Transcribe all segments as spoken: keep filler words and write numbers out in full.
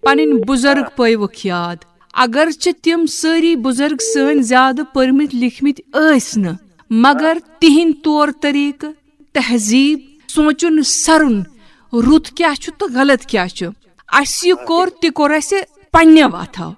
پنٕنۍ بُزرگ پٲوٕکھ یاد۔ اگرچہِ تِم سٲری بُزرگ سٲنۍ زیادٕ پٔرمٕتۍ لیکھمٕتۍ ٲسۍ نہٕ، مگر تِہنٛدۍ طور طریقہٕ، تہذیٖب، سونٛچُن سرُن، رُت کیٛاہ چھُ تہٕ غلط کیٛاہ چھُ، اسہِ یہِ کوٚر، تہِ کوٚر اسہِ پننیو اتھو۔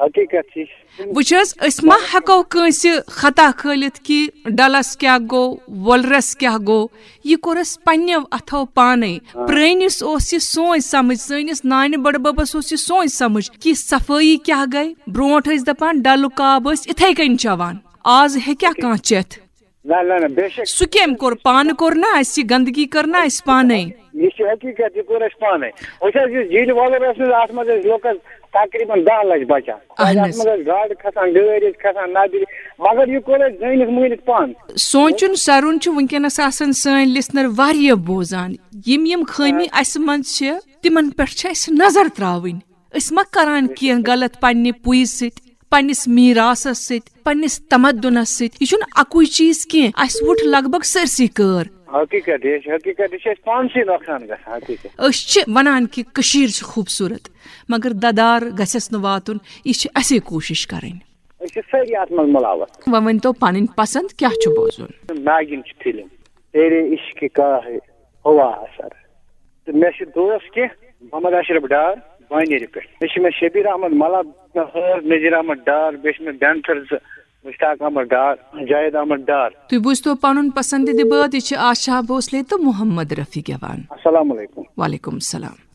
حقیقت چھِ۔ وٕچھ حظ، أسۍ ما ہٮ۪کو کٲنٛسہِ خطا کھٲلِتھ کہِ ڈلس کیٛاہ گوٚو، وۄلرس کیٛاہ گوٚو؟ یہِ کوٚر اَسہِ پننیو اتھو پانے۔ پرٲنِس اوس یہِ سونچ سمجھ، سٲنِس نانہِ بڈببس اوس یہِ سونچ سمجھ کہِ صفٲیی کیٛاہ گٔے۔ برونٛٹھ ٲسۍ دپان ڈلُک آب ٲسۍ اِتھے کٔنۍ چٮ۪وان، آز ہیٚکیٛاہ کانٛہہ چٮ۪تھ؟ نہ، نہ، نہ، بے شک۔ سُہ کٔمۍ کوٚر؟ پانہٕ کوٚر نا اَسہِ یہِ گندگی، کٔر نا اَسہِ پانے؟ یہِ چھِ حقیقت، یہِ کوٚر اَسہِ پانے۔ وٕچھ حظ، یُس جیٖلہِ وۄلُر ٲس نہٕ حظ، اَتھ منٛز ٲسۍ لوکل تقریباً دَہ لَچھ بَچان۔ اَہَن اَتھ حظ۔ منٛز ٲسۍ گاڈٕ کھسان، گٲرۍ ٲسۍ کھسان، نَدٕرۍ، مگر یہِ کوٚر اَسہِ زٲنِتھ مٲنِتھ پانہٕ۔ سونٛچُن سرُن چھُ وٕنکیٚنَس آسان سٲنۍ listener واریاہ بوزان۔ یِم یِم خٲمی اَسہِ منٛز چھِ، تِمن پٮ۪ٹھ چھِ اَسہِ نظر ترٛاوٕنۍ۔ أسۍ ما کران کینٛہہ غلط پننہِ پُیہِ سۭتۍ، پننِس میراثس سۭتۍ، پننِس تمدنس سۭتۍ؟ یہِ چھُنہٕ اکُے چیٖز کینٛہہ، اَسہِ وُٹھ لگ بگ سٲرسٕے کٲر۔ حقیقت، یہِ چھِ حقیقت، یہِ چھِ اَسہِ پانسٕے نۄقصان گژھان، حقیقت۔ أسۍ چھِ ونان کہِ کٔشیٖر چھِ خوٗبصوٗرت، مگر ددار گژھٮ۪س نہٕ واتُن، یہِ چھِ اَسے کوٗشِش کرٕنۍ۔ أسۍ چھِ سٲری اَتھ منٛز مُلوث۔ وۄنۍ ؤنۍتو پنٕنۍ پسند کیٛاہ چھُ بوزُن؟ ناگِن چھِ فِلم تیرے عشق کا ہے ہوا اثر۔ تہٕ مےٚ چھِ دوس کینٛہہ، محمد اشرف ڈار، بانیرِ پٮ۪ٹھ۔ بیٚیہِ چھِ مےٚ شبیر احمد ملاب، مےٚ حٲر نذیر احمد ڈار، بیٚیہِ چھِ مےٚ بینتھر زٕ، مشتاق احمد ڈار، جاوید احمد ڈار۔ تُہۍ بوٗزتو پنُن پسندیدٕ بٲتھ، یہِ چھِ آشا بھوسلے تہٕ محمد رفیع گٮ۪وان۔ السلام علیکم۔ وعلیکم السلام۔